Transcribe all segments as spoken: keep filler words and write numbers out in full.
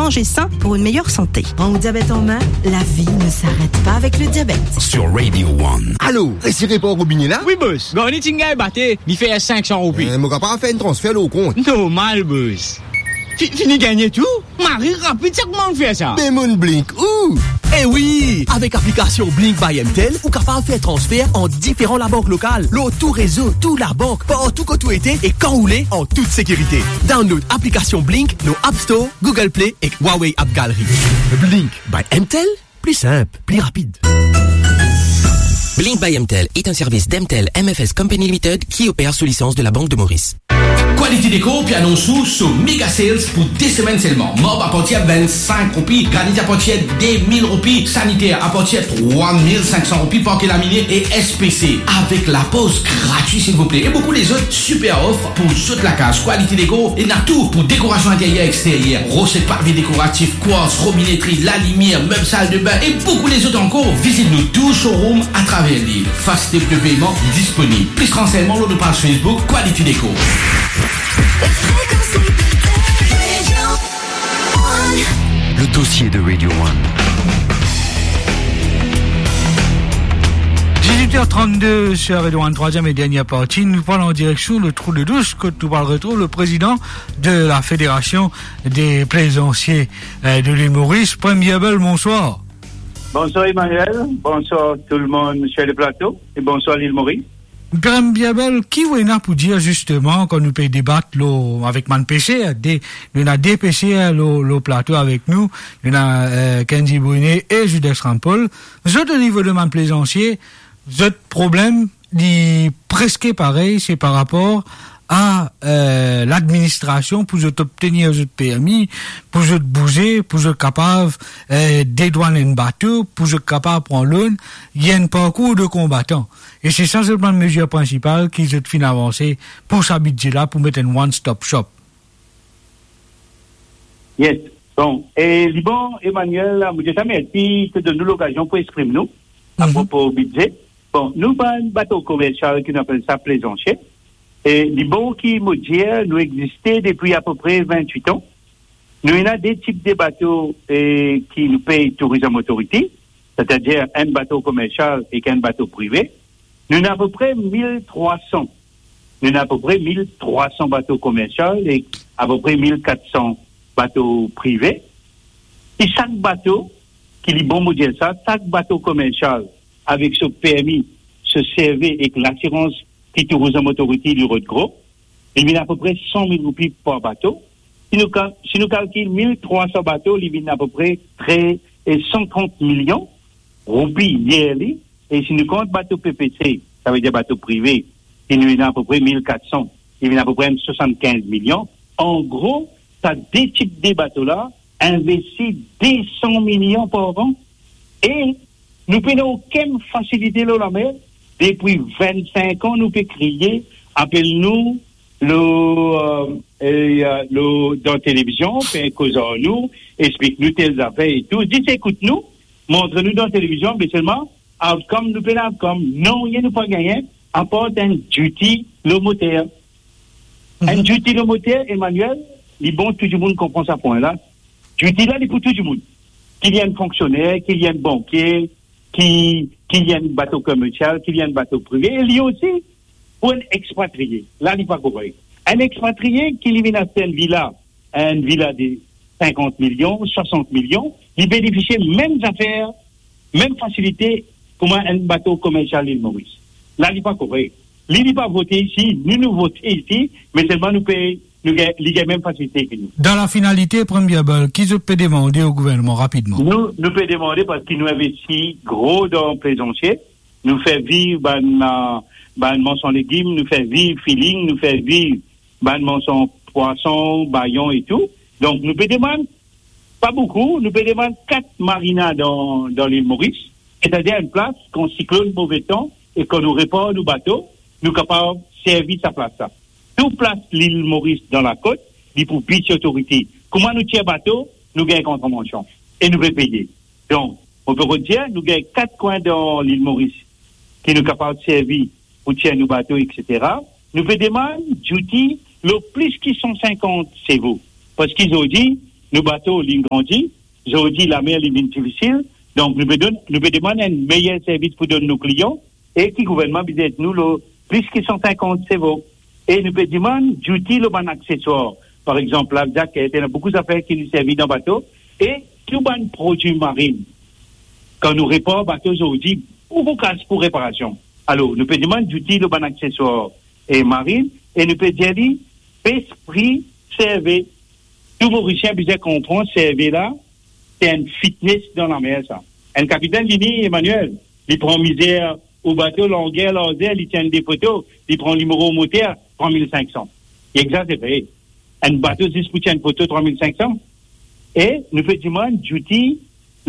Manger sain pour une meilleure santé. Prends ou diabète en main, la vie ne s'arrête pas avec le diabète. Sur Radio One. Alo, resi repa robine la? Wi, bos. Garni ti gagn bate, li fer sink san roupi. Eh, mo kapav fer enn transfer lor ou kont? Normal, bos. Fi-, fini gagne tou? Mari rapid, sa kouma ou fer sa? Be mo'nn Blink ou? Eh wi, avek aplikasion Blink by M T L, ou kapav fer transfer ant diferan labank lokal, lor tou rezo, tou labank, partou kot ou ete e kan ou le, an tout sekirite. Download aplikasion Blink lor App Store, Google Play ek Huawei App Gallery. Blink by M T L, pli sinp, pli rapid. Blink by M T L est un service d'M T L M F S Company Limited qui opère sous licence de la Banque de Maurice. Quality Decor pe anons ou so mega sales pou de semenn selman. Marb apartir vinn-sink roupi, granit apartir de mil roupi, saniter apartir trwa mil sink san roupi, parke lamine e S P C, avek lapoz gratwi, silvouple. E boukou lezot siper of pou zot lakaz. Quality Decor ena tou pou dekorasion interyer, exteryer, rose, pavi dekoratif, kwarts, robinetri, lalimier, meb saldebin e boukou lezot ankor. Vizit nou tou showroom atraver lil. Fasilite de peyman disponib. Plis ransegnman lor nou paz Facebook Quality Decor. Le dossier de Radio One. Dix-huit heures trente-deux sur Radio One, troisième et dernière partie. Nous parlons en direction le Trou de Douche, kot nou pral retrouv le président de la Fédération des Plaisanciers, euh, de l'île Maurice. Prem Bierbel, bonsoir. Bonsoir Emmanuel, bonsoir tout le monde sur le plateau et bonsoir l'île Maurice. Prem Bierbel, ki ou ena pou dir zisteman kan nou pe debat lor, avek bann peser, de, nou ena de peser lor, lor plato avek nou, nou ena, euh, Kendy Brunet e Judas Rampol. Zot o nivo de bann plezansie, zot problem, li preske parey, se par rapor a, euh, ladministrasion pou zot obtenir zot permi, pou zot bouze, pou zot kapav, euh, dedwann enn bato, pou zot kapav pran loan, li enn parkour de konbatan. E se sa zot bann mezir prinsipal ki zot finn avanse pou sa bidze la, pou met enn one stop shop. Yes. Bon, e li bon, Emmanuel, mo dir sa, mersi de donn nou lokazion pou exprim nou apropo bidze. Bon, nou bann bato komersial ki nou apel sa plezansie, e li bon ki mo dir, nou existe depi apepre vintwit an. Nou ena de tip de bato, e, ki nou pey Tourism Authority, setadir enn bato komersial ek enn bato prive. Nou ena apepre mil trwa san. Nou ena apepre mil trwa san bato komersial ek apepre mil kat san bato prive. E sak bato, ki li bon mo dir sa, sak bato komersial avek so permi, so servi ek lasirans ki Tourism Authority li rod gro, li vinn apepre san mil roupi par bato. Si nou kal-, si nou kalkil mil trwa san bato, li vinn apepre tre, e, san trant milion roupi yearly. E si nou kont bato P P C, savedir bato prive, ki nou ena apepre mil kat san, li vinn apepre swasann-kinz milion. An gro, sa de tip de bato la investi de san milion par an. E nou pena okenn fasilite lor lamer. Depi vinn-sink an, nou pe kriye, apel nou lor, euh, e, euh, lor, dan televizion, pe koz ar nou, explik nou tel zafer e tou. Zis ekout nou, montre nou dan televizion, me selman, outcome, nou pena outcome. Nanye nou pa gagne, apar enn duty lor moter. Enn duty lor moter, Emmanuel, li bon tou dimoun konpran sa pwin la. Duty la, li pou tou dimoun. Ki li enn fonksioner, ki li enn bankie, ki, ki li enn bato komersial, ki li enn bato prive, e li osi pou enn expatrie. La, li pa korek. Enn expatrie ki li vinn aste enn vila, enn vila de sinkant milion, swasant milion, li benefisie mem zafer, mem fasilite kouma enn bato komersial Lil Moris. La, li pa korek. Li, li pa vote isi, nou, nou vote isi, me selman nou pe, nou gagn, li gagn mem fasilite ki nou. Dan la finalite, Prem Bierbel, ki zot pe demande o gouvernman rapidman? Nou, nou pe demande, parski nou investi gro dan plezansie, nou fer viv bann, euh, bann marsan legim, nou fer viv feeling, nou fer viv bann marsan pwason, bayon e tou. Donk, nou pe demann, pa boukou, nou pe demann kat marina dan, dan Lil Moris, setadir enn plas, kan siklonn, move tan, e kan nou repar nou bato, nou kapav servi sa plas la. Tou plas Lil Moris dan lakot, li pou Beach Authority. Kouma nou tir bato, nou gagn kontravansion. E nou pe peye. Donk, mo pe redir, nou gagn kat kwin dan Lil Moris ki nou kapav servi pou tir nou bato, etsetera. Nou pe demann duty lor plis ki san sinkant sevo. Parski zordi, nou bato, li grandi, zordi lamer li vinn difisil, donk nou pe donn, nou pe demann enn meyer servis pou donn nou klian, e ki gouvernman bizin ed nou lor plis ki san sinkant sevo, e nou pe demann zouti lor bann akseswar. Par exanp, life jacket, ena boukou zafer ki nou servi dan bato, e tou bann prodwi marin. Kan nou repar bato zordi, boukou kas pou reparasion. Alor, nou pe demann zouti lor bann akseswar e marin, e nou pe dir li, bes pri, serve. Tou Morisien bizin konpran, serve la, se enn fitnes dan lamer sa. Enn kapitenn vini, Emmanuel, li pran mizer ou bato, langer, larzer, li tir de foto, li pran nimero moter, trwa mil sink san. Li exazere. Enn bato zis pou tir enn foto, trwa mil sink san. E nou pe demann zouti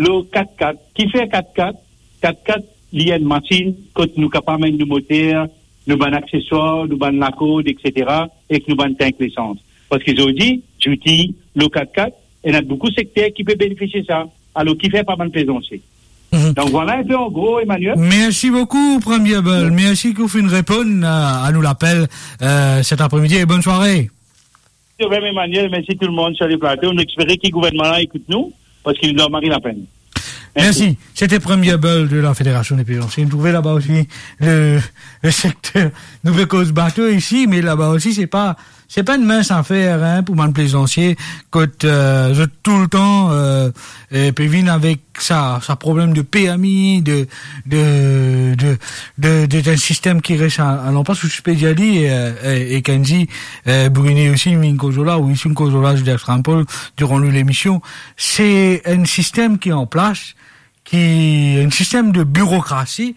lor kat-kat. Kifer kat-kat? Kat-kat, li enn masinn kot nou kapav amenn nou moter, nou bann akseswar, nou bann lakord, et cetera, ek nou bann tank lesans. Parski zordi, zouti lor kat-kat, ena boukou sekter ki pe benefisie sa. Alor, kifer pa bann plezansie? Mhm. Donk, vwala enn pe an gro, Emmanuel. Mersi boukou, Premie Bel. Mersi ki ou finn reponn a, a nou lapel, euh, set apremidi, e bonn sware. Mersi, Emmanuel, mersi tou lemonn sir le plato. Nou espere ki gouvernman la ekout nou, parski nou dan mari lapenn. Mersi. Mersi. C'était Premie Bel de la Fédération des Plaisanciers. Nou trouve laba osi le, le sekter. Nou pe koz bato isi, me laba osi, se pa, se pa enn mins zafer, hein, pou bann plezansie, kot, euh, zot toultan, euh, euh, pe vinn avek sa, sa problem de permi, de, de, de, de, de, enn sistem ki res a, a lanplas, ou ti pe dir li, euh, euh, e Kendy, euh, Brunet osi, inn koz la, ou isi inn koz la, Joseph Strampol, diran nou lemision. Se enn sistem ki an plas, ki, enn sistem de birokrasi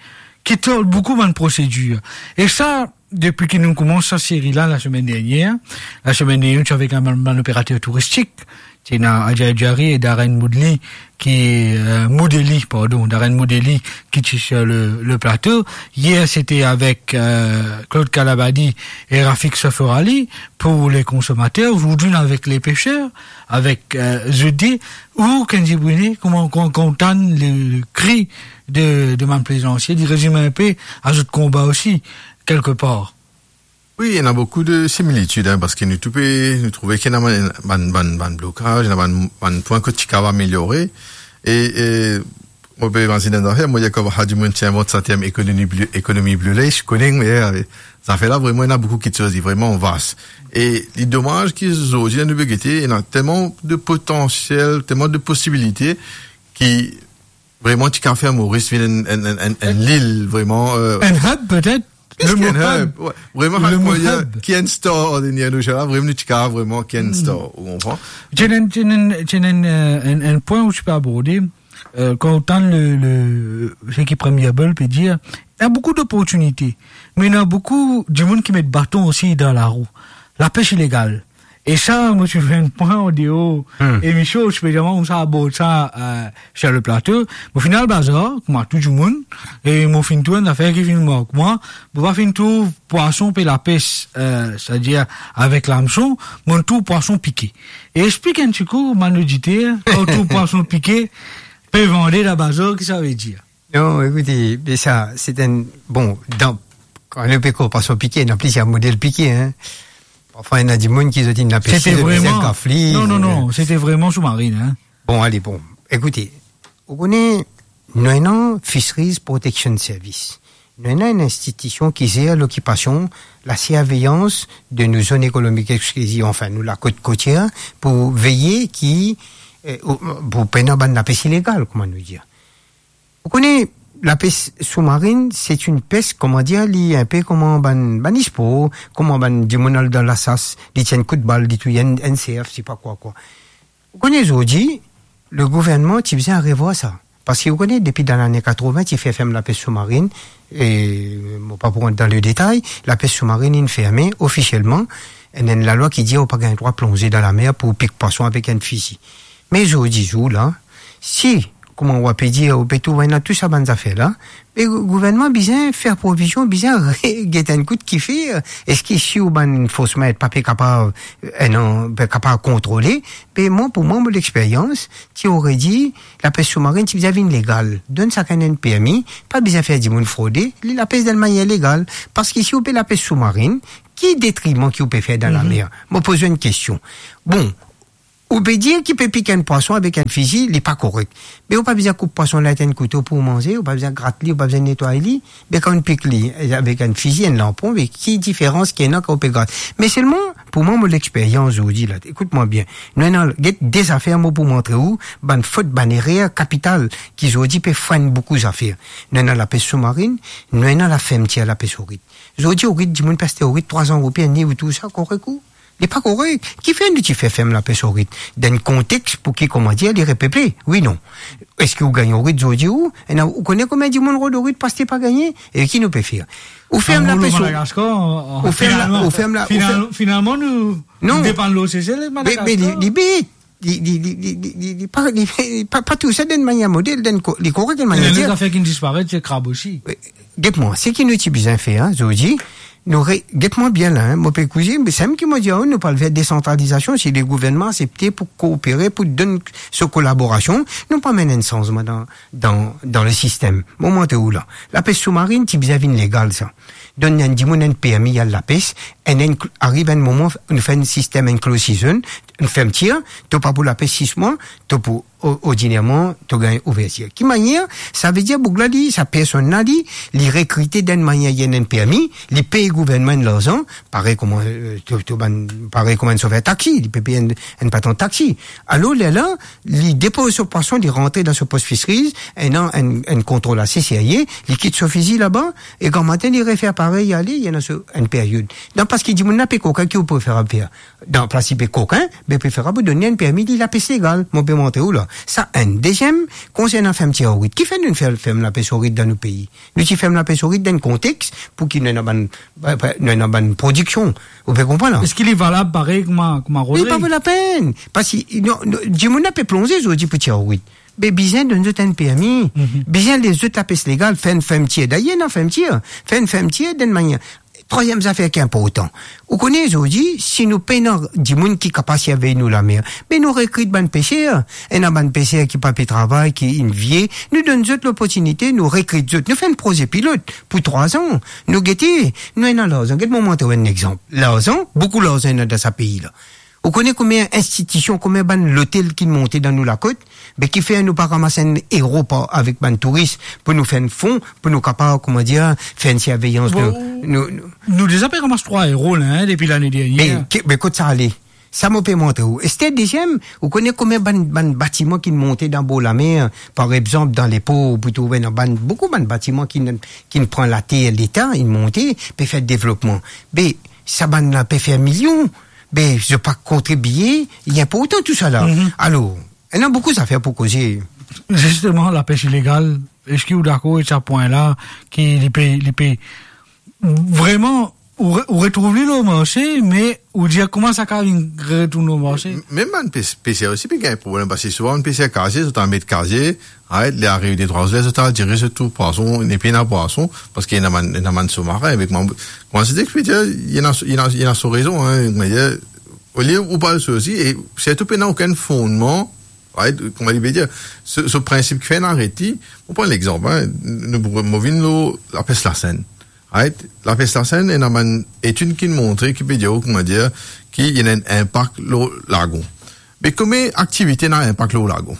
ki tol boukou bann prosedir. E sa, depi ki nou koumans sa seri la, lasemenn dernier, lasemenn dernier, nou ti avek enn bann, bann operater touristik, ti ena Adja Adjari e Darren Moudli ki, euh, Moudeli, pardon, Darren Moudeli ki ti sir le, le plato. Yer, sete avek, euh, Claude Kalabadi e Rafik Soforali pou le konsomater. Zordi, nou avek le peser, avek, euh, zot de, ou, Kendy Brunet, kouma, kan, kan ou tann le, le kri de, de bann plezansie, li rezime enn pe a zot konba osi, kelkepar. Wi, ena boukou de similitid, hein, parski nou tou pe, nou trouve ki ena bann, bann, bann, bann blokaz, ena bann, bann pwin kot ti kav ameliore. E, e, mo pe imazinn enn zafer, mo dir kan sa dimoun ti invant sa term ekonomi bleu, ekonomi bleu lace, koning, me, eh, zafer la, vreman, ena boukou kiksoz, li vreman vas. E li domaz ki zordi, nou pe gete, ena telman de potansiel, telman de posibilite ki vreman ti kav fer Moris vinn enn, enn, enn, enn, enn lil, vreman, euh, enn hub, petet? Plis ki enn hub, wi. Vreman, le mo hub, ki enn star, dan nou jou la, vreman, nou ti kav vreman ki enn star, ou konpran? Ti ena, ti ena, ti ena, euh, enn, enn pwin ou ti pe aborde, euh, kan ou tann le, le, seki Premie Bel pe dir, ena boukou doportinite, me ena boukou dimoun ki met baton osi dan larou. Lapes ilegal. E sa, mo ti fer enn pwin an deor emision, spesialman koumsa abord sa, euh, sir le plato. Mo finn al bazar, kouma tou dimoun, e mo finn trouv enn zafer ki finn mark mwa, mo pa finn trouv pwason pe lapes, euh, setadir avek lamson, mo trouv pwason pike. E explik enn tikou bann oditer, kan ou trouv pwason pike pe vande dan bazar, ki sa ve dir? Non, ekoute, me sa, se enn, bon, dan, kan nou pe koz pwason pike, ena plizier model pike, hein. Parfwa, ena dimoun ki zot inn lapes li, zot inn gaf li. Non, non, non, sete vreman soumarin, hein. Bon, ale, bon, ekoute, ou kone, nou ena Fisheries Protection Service. Nou ena enn institision ki zer lokipasion, laserveyans de nou zone ekonomik exkliziv, anfin, nou lakot kotier, pou veye ki, euh, pou pena bann lapes ilegal, kouma nou dir. Ou kone, lapes soumarin, se enn pes, kouma dir, li enn pe kouma bann, bann spor, kouma bann dimoun al dan lasas, li tir enn kout bal, li touy enn, enn serf, se pa kwa, kwa. Ou kone, zordi, le gouvernman ti bizin revwar sa. Parski ou kone, depi dan lane katrovin, ti fer ferm lapes soumarin, e mo pa pou rant dan le detay, lapes soumarin inn ferme ofisielman, ena enn lalwa ki dir ou pa gagn drwa plonze dan lamer pou pik pwason avek enn fizi. Me zordi zour la, si, kouma ou pe dir, ou pe trouv ena tou sa bann zafer la, me gou-, gouvernman bizin fer provizion, bizin re-, get enn kout kifer, eski si ou bann fors mer pa pe kapav, eh non, pe kapav kontrole, me mwa, pou mwa, mo lexperyans, ti ore dir, lapes soumarin ti bizin vinn legal. Donn sakenn enn permi, pa bizin fer dimoun frode, li lapes dan manier legal. Parski si ou pe lapes soumarin, ki detriman ki ou pe fer dan lamer? Mo poz ou enn kestion. Bon, Ou pe dir ki pe pik enn pwason avek enn fizi, li pa korek. Me ou pa bizin koup pwason la avek enn kouto pou manze, ou pa bizin grat li, ou pa bizin netway li. Be kan ou pik li, eh, avek enn fizi, enn lanpon, be ki diferans ki ena kan ou pe grat? Me selman, pou mwa, mo lexperyans zordi la, ekout mwa bien. Nou ena, get de zafer mo pou montre ou, bann fot, bann erer kapital ki zordi pe frenn boukou zafer. Nou ena lapes soumarin, nou ena lafermtir lapes orit. Zordi orit, dimoun pe aste orit trwa san roupi enn liv, tou sa korek ou? Li pa korek. Kifer nou ti fer ferm lapes orit? Dan enn kontex pou ki, kouma dir, li repeple. Wi, non. Eski ou gagn orit zordi ou? Ena, ou kone konbien dimoun rod orit, paske pa gagne? E ki nou pe fer? Ou ferm lapes orit. Ou ferm la, ou ferm la, ou ferm... Finalman, nou depann lor Sesel, Madagaskar. Me, me li, li bet. Li, li, li pa, li, li pa, pa tou sa dan manier model, dan ko-, li korek dan manier dir. Ena zafer ki disparet, se krab osi. Get mwa, seki nou ti bizin fer, zordi, nou re-, get mwa bien la, mo pe kouze, me samem ki mo dir, nou pou al ver desantralizasion, si le gouvernman asepte pou koopere, pou donn so kolaborasion, nou pou amenn enn sanzman dan, dan, dan le sistem. Mo montre ou la. Lapes soumarin ti bizin vinn legal, sa. Donn enn dimoun enn permi al lapes, enn, enn, ariv enn moman, nou fer enn sistem enclosed season, enn fermtir, to pa pou lapes sis mwa, to pou, o-, ordinierman, to gagn ouvertir. Ki manier? Savedir, boug la, li, sa personn la, li, li rekrite dan enn manier, li ena enn permi, li pey gouvernman enn larzan, parey kouma, eh, to, to bann, parey kouma enn sofer taxi, li pe pey enn, enn patron taxi. Alor, lerla, li depoz so pwason, li rantre dan so post fisheries, ena enn, enn kontrol ase serye, li kit so fizi laba, e gramatin, li refer parey, li ale, li ena so enn period. Dan, paski dimoun la pe kokin, ki ou preferab fer? Dan plas li pe kokin, be preferab ou donn li enn permi, li lapes legal, mo pe montre ou la. Sa enn. Deziem, konsernan fermtir orit. Kifer nou fer-, ferm lapes orit dan nou pei? Nou ti ferm lapes orit dan enn kontex pou ki nou ena bann, nou ena bann prodiksion. Ou pe konpran la? Eski li valab parey kouma, kouma rod? Li pa vo lapenn. Paski, non, non, dimoun la pe plonze zordi pou tir orit. Be bizin donn zot enn permi. Mhm. Bizin les zot lapes legal, fer enn fermtir. Dayer, ena fermtir. Fer enn fermtir dan manier. Trwaziem zafer ki inportan. Ou kone zordi, si nou pena dimoun ki kapav sirvey nou lamer, be nou rekrit bann peser. Ena bann peser ki pa pe travay, ki inn vie, nou donn zot loportinite, nou rekrit zot. Nou fer enn proze pilot pou trwa an. Nou gete, nou ena larzan. Get mo montre ou enn exanp. Larzan, boukou larzan ena dan sa pei la. Ou kone konbien institision, konbien bann lotel ki monte dan nou lakot, be kifer nou pa ramas enn ero par avek bann touris pou nou fer enn fon, pou nou kapav, kouma dir, fer enn sirveyans de, bon, nou, nou nou deza pe ramas trwa ero la, hein, depi lane dernie. Be, ki, be kot sa ale? Sa mo pe montre ou. Ester deziem, ou kone konbien bann, bann batiman ki monte dan bor lamer, par exanp, dan lepor, pou trouve ena bann, boukou bann batiman ki, ki pran later Leta, inn monte, pe fer devlopman. Be, sa bann la pe fer milion. Be, zot pa kontribie, li inportan tou sa la. Mhm. Alor, ena boukou zafer pou koze. Zisteman, lapes ilegal, eski ou dakor avek sa pwin la, ki li pe, li pe, vreman, ou re-, ou retrouv li lor marse, me ou dir kouma sa kapav vinn retourn lor marse? M-, mem bann pes-, peser osi pe gagn problem, paski souvan bann peser kaze, zot al met kaze, right, li ariv de trwa ler, zot al dire zot trouv pwason, nepli ena pwason, paski ena bann, ena bann soumarin avek mwa. Kouma se dir ki pe dir, li ena, li ena, li ena so rezon, hein, me dir, olie ou pa al sorti, e sirtou pena okenn fondman, right, kouma li pe dir, so, so prinsip ki fer inn aret li, mo pran lexanp, hein, nou, mo vinn lor lapes lasenn, right? Lapes lasenn, ena bann etid ki montre, ki pe dir, kouma dir, ki ena enn inpak lor lagon. Me kouma aktivite ena inpak lor lagon?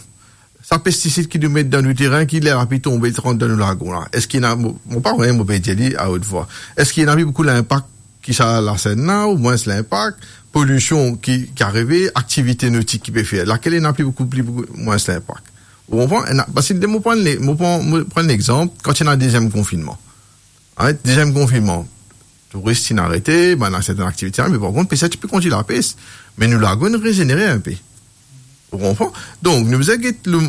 Sa pestisid ki nou met dan nou terin, ki ler lapli tonbe, li rant dan nou lagon la, eski ena, mo, mo pa konnen, mo pe dir li a haute voix, eski ena pli boukou linpak ki sa lasenn la, ou mwins linpak, polision ki, ki arive, aktivite notik ki pe fer, lakel ena pli boukou, pli boukou, mwins linpak? Ou konpran? Ena, paski mo pran le-, mo pran, mo pran lexanp, kan ti ena deziem konfinnman. Right? Deziem konfinnman, touris ti inn arete, bann sertenn aktivite, me par kont, peser ti pe kontign lapes. Me nou lagon inn rezenere inpe. Ou konpran? Donk, nou bizin get le,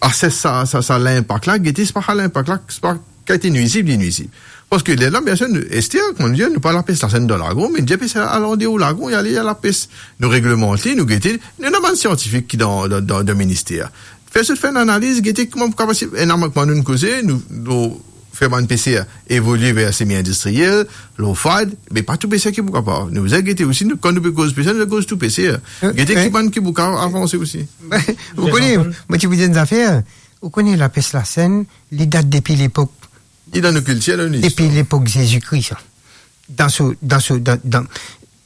ases sa, sa, sa linpak la, gete, se pa sa linpak la, se pa kalite nwizib, li nwizib. Paski lerla, biensir, nou, ester, kouma nou dir, nou pa lapes lasenn dan lagon, me nou dir peser al andeor lagon, li ale, li al lapes. Nou reglemant li, nou gete, nou ena bann siantifik ki dan, dan, dan, dan minister. Fer zot fer enn analiz, gete kouma pou kapav, ena, kouma nou koze, nou, nou fer bann peser evolie ver semi-indistriyel, lor fad, me pa tou peser ki pou kapav. Nou bizin gete osi, nou, kan nou pe koz peser, nou koz tou peser. Eh, gete eh. Ki bann ki pou kapav avanse osi. Ou kone, mo ti pou dir enn zafer, ou kone lapes lasenn, li dat depi lepok... Li dan nou kiltir, dan nou listwar. Depi lepok Zezi Kri, sa. Dan so, dan so, dan, dan,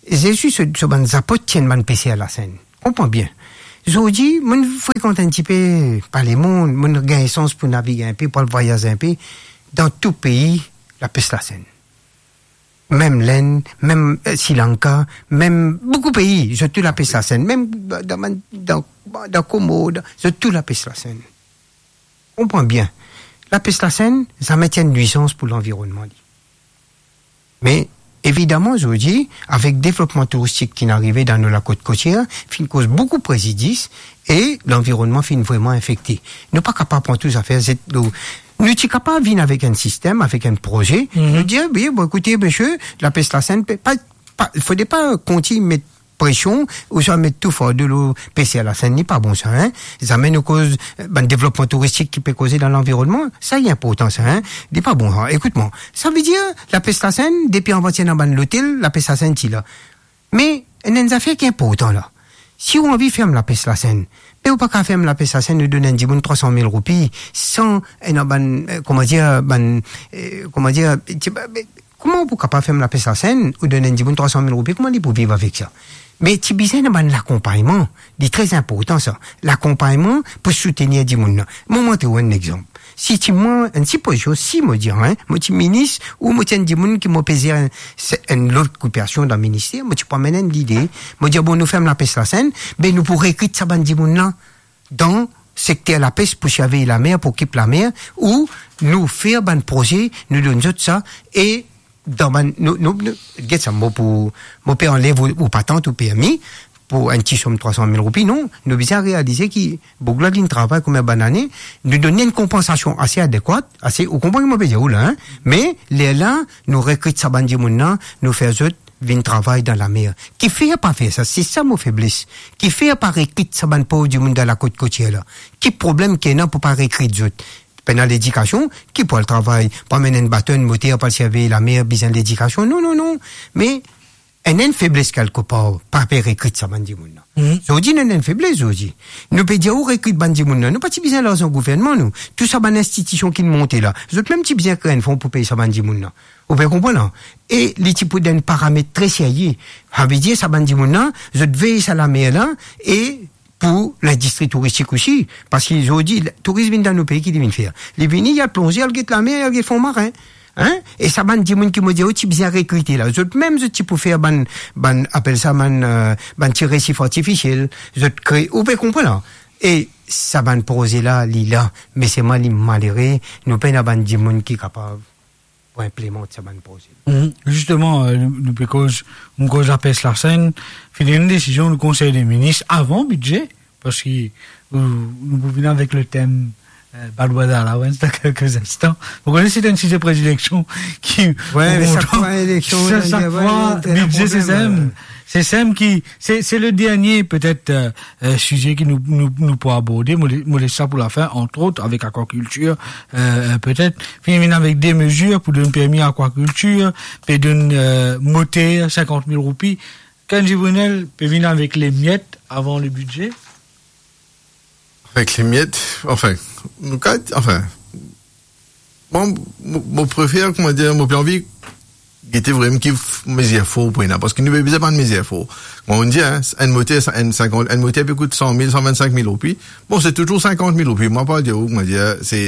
Zezi, so, so bann zapot ti enn bann peser lasenn. Konpran bien. Zordi, mo'nn frekant enn tipe par lemonn, mo'nn gagn sans pou navig enpe, pou al vwayaz enpe, dan tou pei, lapes lasenn. Mem Lenn, mem, eh, Sri Lanka, mem boukou pei, zot tou lapes lasenn. Mem dan, dan, dan, dan Komor, dan, zot tou lapes lasenn. Konpran bien, lapes lasenn, zame ti enn nwizans pou lanvironnman li. Me, evidaman, zordi, avek devlopman touristik ki'nn arive dan nou lakot kotier, finn koz boukou prezidis e lanvironnman finn vreman infekte. Nou pa kapav pran tou zafer zet lor. Nou ti kapav vinn avek enn sistem, avek enn proze, nou dir, "Wi, bon, ekoute, misie, lapes lasenn, pe-, pa, pa, fode pa kontign met presion, ouswa met tou fardo lor peser lasenn, li pa bon sa, hein. Zame nou koz, eh, bann devlopman touristik ki pe koze dan lanvironnman, sa li inportan sa, hein. Li pa bon sa. Ekout mwa, savedir, lapes lasenn, depi avan ti ena bann lotel, lapes lasenn ti la. Me, ena enn zafer ki inportan la. Si ou anvi ferm lapes lasenn, me ou pa kapav ferm lapes lasenn, ou donn enn dimoun trwa san mil roupi, san ena bann, eh, kouma dir, bann, eh, kouma dir, ti, ba, be, kouma ou pou kapav ferm lapes lasenn, ou donn enn dimoun trwa san mil roupi, kouma li pou viv avek sa? Me ti bizin ena bann lakonpagnman, li tre inportan sa. Lakonpagnman pou soutenir dimoun la. Mo montre ou enn exanp. Si ti mwa, enn sipozion, si mo dir, hein, mo ti minis, ou mo ti enn dimoun ki mo pe zer enn, se, enn lot okipasion dan minister, mo ti pou amenn enn lide, mo dir, bon, nou ferm lapes lasenn, be nou pou rekrit sa bann dimoun la dan sekter lapes pou sirvey lamer, pou okip lamer, ou nou fer bann proze, nou donn zot sa, e dan bann, nou, nou, nou, get sa, mo pou, mo pe anlev ou, ou patant, ou permi, pou enn ti som trwa san mil roupi, non, nou bizin realize ki boug la, li'nn travay konbien bann ane, nou donn li enn konpansasion ase adekwat, ase, ou konpran ki mo pe dir ou la, hein? Me, lerla, nou rekrit sa bann dimoun la, nou fer zot vinn travay dan lamer. Kifer pa fer sa? Se sa mo febles. Kifer pa rekrit sa bann pov dimoun dan lakot kotier la? Ki problem ki ena pou pa rekrit zot? Pena ledikasion, ki pou al travay, pou amenn enn bato, enn moter, pou al sirvey lamer, bizin ledikasion? Non, non, non. Me, ena enn febles kelkepar, pa pe rekrit sa bann dimoun la. Mhm. Zordi, nou ena enn febles zordi. Nou pe dir, ou rekrit bann dimoun la. Nou pa ti bizin larzan gouvernman, nou. Tou sa bann institision ki'nn monte la, zot mem ti bizin kre enn fon pou pey sa bann dimoun la. Ou pe konpran la? E li ti pou dan enn paramet tre serye. Savedir, sa bann dimoun la, zot vey sa lamer la, e pou lindistri touristik osi, parski zordi, touris vinn dan nou pei, ki li vinn fer? Li vini, li al plonze, al get lamer, li al get fon marin. Hein? E sa bann dimoun ki mo dir ou ti bizin rekrite la, zot mem zot ti pou fer bann, bann, apel sa bann, eh, bann ti resif artifisiel, zot kre, ou pe konpran la? E sa bann proze la, li la, me selman li malere, nou pena bann dimoun ki kapav pou inplimant sa bann proze. Mhm. Zisteman, eh, nou, nou pe koz, nou koz lapes lasenn, finn ena enn desizion nou Konsey de Minis avan bidze, parski, eh, nou pou vinn avek le tem, eh, Badwater Allowance dan kelke instan. Vous connaissez, c'est un sujet de prédilection qui, Ouais, me sak fwa eleksion, sak fwa, bidze, se sem. Se sem ki, se, se le dernie, petet, eh, eh, size ki nou, nou, nou pou aborde, mo le-, mo les sa pou lafin, antrot, avek akwakiltir, eh, eh, petet, finn vinn avek de mezir pou donn permi akwakiltir, pe donn, eh, moter, sinkant mil roupi. Kenji Brunel pe vinn avek le miet avan le bidze. Avek le miet, anfin, nou kat, anfin, Mwa, mo, mo prefer, kouma dir, mo pe anvi gete vremem ki f-, mezir for pou ena, parski nou pe bizin bann mezir for. Mwa, mo dir, hein, enn moter, sa, enn sinkant, enn moter pe kout san mil, san vinn-sink mil roupi. Bon, se touzour sinkant mil roupi. Mwa, pa dir ou, kouma dir, se,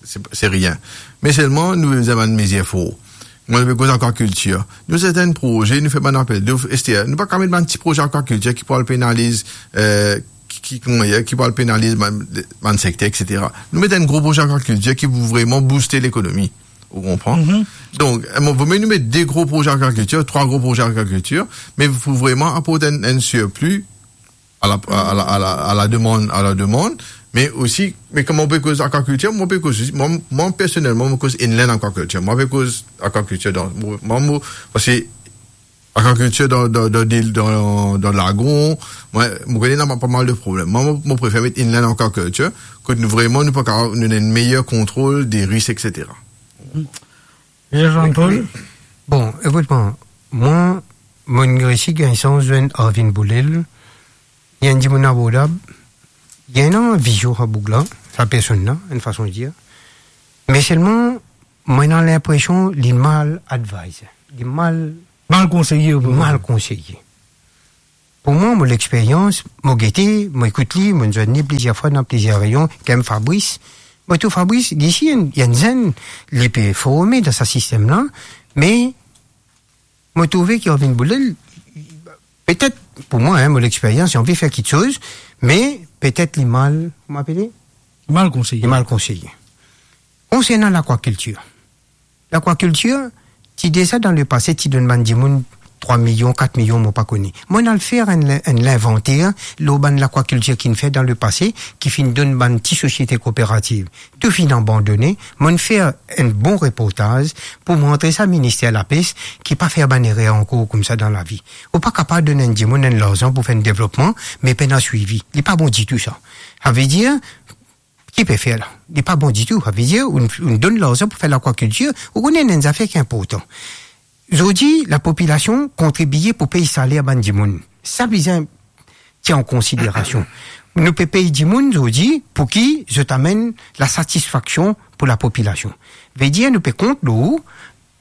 se, se rien. Me selman, nou pe bizin bann mezir for. Mwa, nou pe koz akwakiltir. Nou, serten proze, nou fer bann apel dof, et cetera. Nou pa kapav met bann ti proze akwakiltir ki pou al penaliz, eh, ki, ki, kouma dir, ki pou al penaliz bann, bann sekter, et cetera. Nou met enn gro proze akwakiltir ki pou vreman bouste lekonomi. Ou konpran? Mhm. Donk, eh, mo, vomie nou met de gro proze akwakiltir, trwa gro proze akwakiltir, me pou vreman aport enn, enn sirpli a la, a la, a la, a la demann, a la demann, me osi, me kouma ou pe koz akwakiltir, mwa pe koz osi, mwa, mwa personelman, mo koz inland akwakiltir. Mwa pe koz akwakiltir dan, mwa, mwa, mo, parski akwakiltir dan, dan, dan, dan, dan, dan lagon, mwa, mo kone ena pa mal de problem. Mwa, mo, mo prefer met inland akwakiltir, kot nou vreman, nou pou kapav, nou ena enn meyer kontrol de risk, et cetera. Jean-Paul? Bon, ekout mwa, mwa, mo'nn resi gagn sans zwenn Arvin Boulel, li enn dimoun abordab, li ena vizion sa boug la, sa personn la, enn fason de dir. Me selman, mwa ena linpresion li mal advised, li mal, mal konseye, mal konseye. Pou mwa, mo lexperyans, mo gete, mo ekout li, mo zwenn li plizier fwa dan plizier reyon, kem Fabrice. Mo trouv Fabrice, li isi, enn, enn zenn, li pe forme dan sa sistem la, me mo trouve ki Arvin Boulel, petet, pou mwa, hein, mo lexperyans, li anvi fer kiksoz, me petet li mal, kouma apele? Mal konseye. Li mal konseye. Konsernan lakwakiltir. Lakwakiltir, ti deza dan lepase, ti donn bann dimoun trwa milion, kat milion, mo pa kone. Mo'nn al fer enn, enn linvanter lor bann lakwakiltir ki'nn fer dan lepase, ki finn donn bann ti sosiete kooperativ. Tou finn abandone, mo'nn fer enn bon reportaz pou montre sa minister lapes ki pa fer bann erer ankor koumsa dan lavi. Ou pa kapav donn enn dimoun enn larzan pou fer enn devlopman, me pena swivi. Li pa bon ditou sa. Savedir, ki pe fer la? Li pa bon ditou. Savedir, ou, ou donn larzan pou fer lakwakiltir, ou kone enn zafer ki inportan. Zordi, lapopilasion kontribie pou pey saler bann dimoun. Sa bizin tir an konsiderasion. Nou pe pey dimoun zordi pou ki zot amenn lasatisfaksion pou lapopilasion. Vedir, nou pe kont lor ou,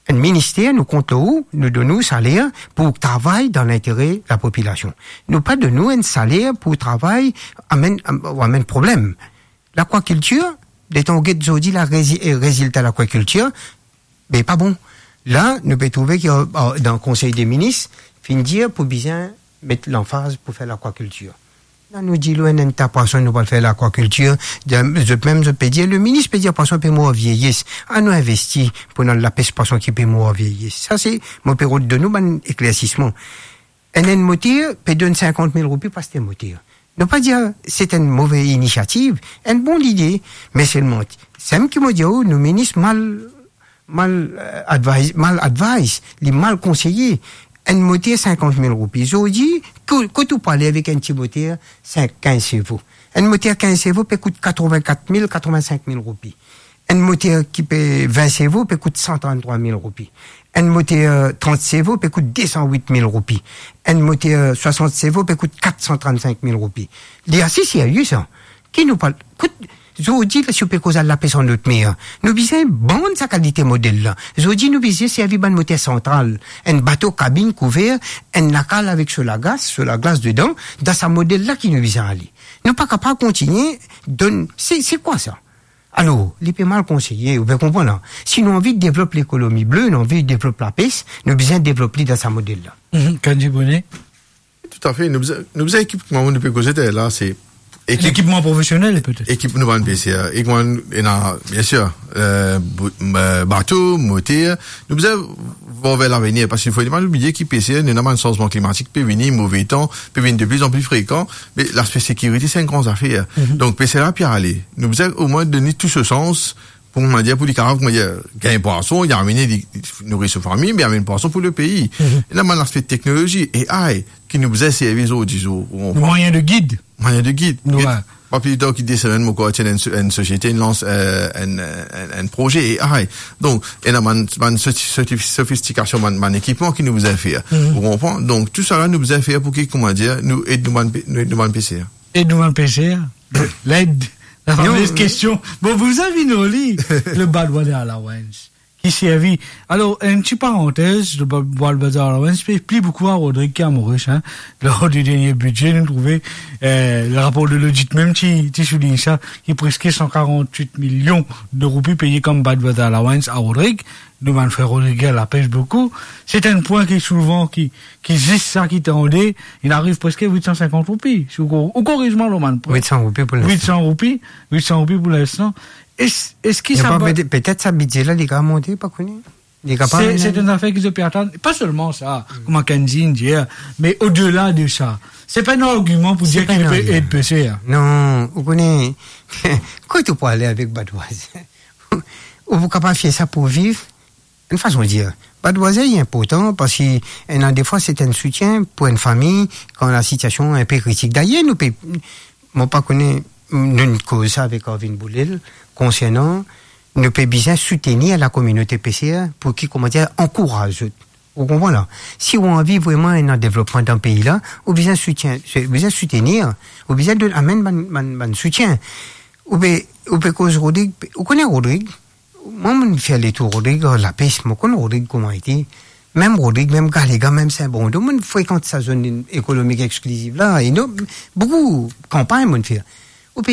enn minister, nou kont lor ou, nou donn ou saler pou travay dan lintere lapopilasion. Nou pa donn ou enn saler pou travay amenn, am-, amenn problem. Lakwakiltir, letan ou get zordi la rezi-, eh, rezilta lakwakiltir, be pa bon. La, nou pe trouve ki, eh, dan Konsey de Minis, finn dir pou bizin met lanfaz pou fer lakwakiltir. La, nou dir, nou ena enn ta pwason, nou pral fer lakwakiltir. Zot mem, zot pe dir, le minis pe dir pwason pe mor vieyes. Anou investi pou nou al lapes pwason ki pe mor vieyes. Sa se, mo pe rod donn nou bann eklersisman. Enn, enn moter pe donn sinkant mil roupi pou aste moter. Nou pa dir se enn move inisiativ, enn bon lide, me selman, seki mo dir ou, nou minis mal, mal, eh, advise, mal advise, li mal konseye. Enn moter sinkant mil roupi. Zordi, ko-, kot ou pou ale avek enn ti moter sink, kinz sevo? Enn moter kinz sevo pe kout katrevin-kat mil, katrevin-sink mil roupi. Enn moter ki pe vin sevo pe kout san trant-trwa mil roupi. Enn moter, eh, trant sevo pe kout de san wit mil roupi. Enn moter, eh, swasant sevo pe kout kat san trant-sink mil roupi. Li ase serye sa. Ki nou pa, kot, zordi la, si ou pe koz al lapes an lot mer, nou bizin bann sa kalite model la. Zordi nou bizin servi bann moter santral, enn bato kabinn kouver, enn lakal avek so laglas, so laglas dedan, dan sa model la ki nou bizin ale. Nou pa kapav kontigne donn, se, se kwa sa? Alor, li pe mal konseye, ou pe konpran la. Si nou anvi devlop lekonomi ble, nou anvi devlop lapes, nou bizin devlop li dan sa model la. Mhm, Kandji Brunet? Toutafe, nou bizin, nou bizin ekipman, nou pe koze de la, se ekip-, Lekipman profesionel, petet. Ekip nou bann peser. Ek nou ena, bien sir, eh, bo-, eh, bato, moter. Nou bizin vwar ver lavenir, parski fode pa nou bliye ki peser, nou ena bann sanzman klimatik pe vini, move tan, pe vinn de pli an pli frekan, me laspe sekirite, se enn gran zafer. Mhm. Donk, peser la pe ale. Nou bizin omwin donn li tou so sans, pou, kouma dir, pou li kapav, kouma dir, gagn pwason, li amene, li, li nouri so fami, me amenn pwason pou lepei. Mhm. Ena bann laspe teknolozi, A I, ki nou bizin servi zordi zour, ou konpran? Mwayin de gid. Mwayin de gid. Wi. Pa pli tar ki de semenn, mo krwar ti ena enn so-, enn sosiete, inn lans, eh, enn, enn, enn proze A I. Donk, ena bann, bann soti-, soti-, sofistikasion, bann, bann ekipman ki nou bizin fer. Mhm. Ou konpran? Donk, tou sa la, nou bizin fer pou ki, kouma dir, nou ed nou bann pe-, nou ed nou bann peser. Ed nou bann peser. Led. La fameuse kestion. Bon, pou sa vinn li, le bad weather allowance ki servi. Alor, enn ti parantez, le bad weather allowance pe pli boukou a Rodrig ki a Moris, hein. Lor di dernie bidze, nou trouve, eh, le rapor de lodit mem ti, ti soulign sa, ki preske san karant-wit milion de roupi peye kom bad weather allowance a Rodrig. Nou bann frer Rodrig lapes boukou. Se enn pwin ki souvan, ki, ki zis sa ki tande, li ariv preske wit san sinkant roupi. Si ou ko-, ou koriz mwa lor bann pwin. Wit san roupi pou linstan. Wit san roupi, wit san roupi pou linstan. Es-, eski sa pa, petet sa bidze la, li kapav monte, pa kone. Li kapav... Se, se enn zafer ki zot pe atann. Pa selman sa, kouma Kandji dir, me odela de sa. Se pa enn argiman pou dir ki nou pe ed peser. Non, ou kone, kot ou pou ale avek bad weather? Ou pou kapav fer sa pou viv, enn fason dir. Bad weather li inportan parski ena defwa se enn soutien pou enn fami kan lasitiasion inpe kritik. Dayer, nou pe, mo pa kone, nou koz sa avek Arvin Boulel, konsernan, nou pe bizin soutenir lakominote peser pou ki, kouma dir, ankouraz zot. Ou konpran la? Si ou anvi vreman ena devlopman dan pei la, ou bizin soutien, ou bizin soutenir, ou bizin donn, amenn bann, bann, bann soutien. Ou pe, ou pe koz Rodrig, ou kone Rodrig, Mwa, mo'nn fer letour Rodrig ar lapes, mo konn Rodrig kouma ete. Mem Rodrig, mem Galega, mem Saint-Bordeaux, mo'nn frekant sa zone ekonomik exkliziv la. E nou, boukou kanpagn mo'nn fer.